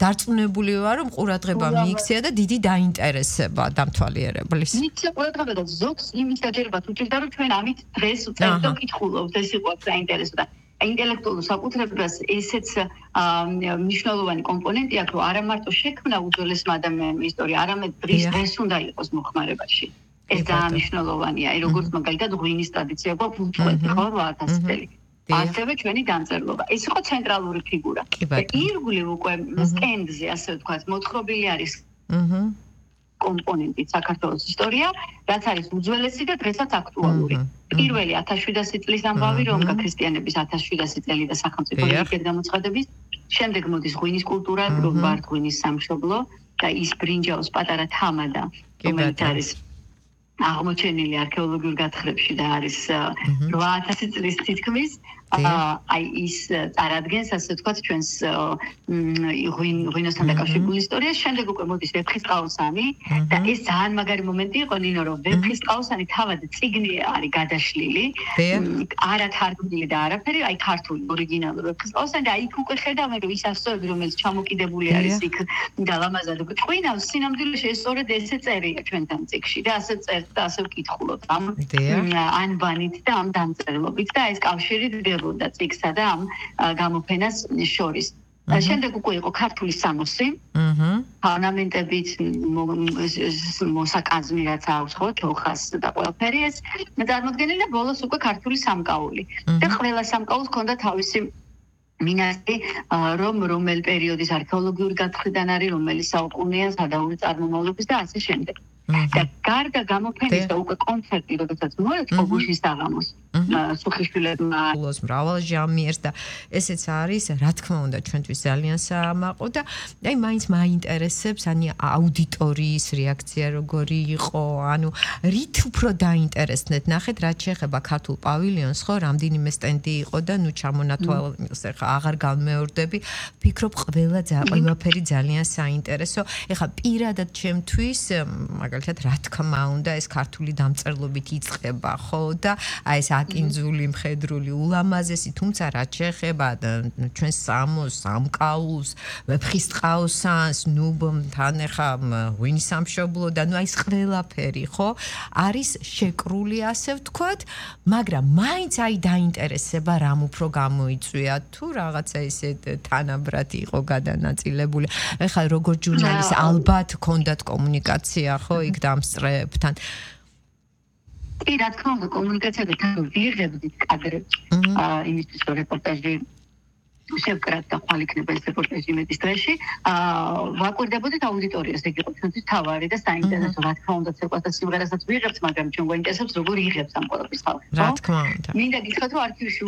დარწმუნებული ვარ, რომ ყურადღება მიიქცია და დიდი დაინტერესება დამთვალიერებლის. მიიქცია ყურადღება და ზოგს იმის დაჯერება თუ ჭირდა, რომ ჩვენ ამით დღეს ვწერთ და ვკითხულობთ, ეს იყო საინტერესო და ინტელექტუალურ საკუთრებას ესეც მნიშვნელოვანი კომპონენტი აქვს, რომ არა მარტო შექმნა უძველესმა ადამიანმა ისტორია, არამედ დღეს უნდა იყოს მოხმარებაში. ეს ძალიან მნიშვნელოვანია, როგორც მაგალითად ღვინის ტრადიცია გვაქვს უწყვეტი, ხო, 8000 წელი. ასევე ჩვენი დამწერლობა. ეს იყო ცენტრალური ფიგურა. ირგვლივ უკვე სტენდზე, ასე ვთქვათ, მოთხრობილი არის კომპონენტი საქართველოს ისტორია, რაც არის უძველესი და დღესაც აქტუალური. პირველი 1700 წლის ამბავი, რომ ქრისტიანების 1700 წელი და სახელმწიფო რიგით გამოცხადების, შემდეგ მოდის ღვინის კულტურა, რომ ვართ ღვინის სამშობლო და ის ბრინჯაოს პატარა თამადა, რომელიც არის აღმოჩენილი არქეოლოგიურ გათხრებში და არის 8000 წლის თითქმის აი ის წარადგენს ასე ვთქვათ ჩვენს ღვინოსთან დაკავშირებული ისტორიას. შემდეგ უკვე მოდის ვეფხისტყაოსანი და ეს ძალიან მაგარი მომენტი იყო ნინო, რომ ვეფხისტყაოსანი თავად წიგნი არის გადაშლილი, არა თარგმნილი და არაფერი, აი ქართული ორიგინალური ვეფხისტყაოსანი და იქ უკვე ხედავენ, რომ ის ასოები, რომელიც ჩამოკიდებული არის იქ და ლამაზად ყვინავს, სინამდვილეში ეს სწორედ ესე წერია ჩვენთან წიგნში და ასე წერს და ასე ვკითხულობთ ამ ანბანით და ამ დამწერლობით და ეს კავშირი და წიგსა და ამ გამოფენას შორის. შემდეგ უკვე იყო ქართული სამოსი, ორნამენტებით მოსაკაზმი რაც აქვს, ხო, თოხას და ყველაფერი ეს წარმოდგენილი და ბოლოს უკვე ქართული სამკაული. და ყველა სამკაულს ჰქონდა თავისი მინასტრი, რომელ პერიოდის არქეოლოგიური გათხრიდან არის, რომელი საუკუნეა, სადაური წარმომავლობის და ასე შემდეგ. და გარდა გამოფენის და უკვე კონცერტი, როდესაც მოეწყო გუშინ საღამოს სუხიშვილებმა მრავალ ჟამიერს და ესეც არის, რა თქმა უნდა, ჩვენთვის ძალიან საამაყო და აი მაინც მაინტერესებს აუდიტორიის რეაქცია როგორი იყო, ანუ რით უფრო დაინტერესდეთ, ნახეთ, რაც შეეხება ქართულ პავილიონს, ხო, რამდენიმე სტენდი იყო და ნუ ჩამონათვალეს, ეხა აღარ განმეორდები, ფიქრობ ყველაფერი ძალიან საინტერესო. ეხა პირადად ჩემთვის მაგალითად რა თქმა უნდა ეს ქართული დამწერლობით იწყება, ხო და აი ეს აკინძული, მხედრული, ულამაზესი, თუმცა რაც შეეხება ჩვენს სამოს, სამკაულს, ვეფხისტყაოსანს, ნუ თან ეხა ღვინის სამშობლო და ნუ აი ეს ყველაფერი, ხო, არის შეკრული, ასე ვთქვათ, მაგრამ მაინც აი დაინტერესება რამ უფრო გამოიწვია თუ რაღაცა ესე თანაბრად იყო გადანაწილებული. ეხა როგორ ჟურნალისტ ალბათ ჰქონდათ კომუნიკაცია, ხო, იქ დამსწრეებთან. კი, რა თქმა უნდა, კომუნიკაცია და თან ვიღებდით კადრებს. იმისთვის რომ რეპორტაჟი შევკრათ და ხვალ იქნება ეს რეპორტაჟი იმედის დღეში. ვაკვირდებოდით აუდიტორიას, ეგ იყო ჩვენთვის თავარი და საინტერესო, რა თქმა უნდა, ცეკვას და სიმღერასაც ვიღებთ, მაგრამ ჩვენ გვაინტერესებს როგორ იღებს ამ ყველაფრის ხალხი. რა თქმა უნდა. მინდა გითხრათ, რომ არქივში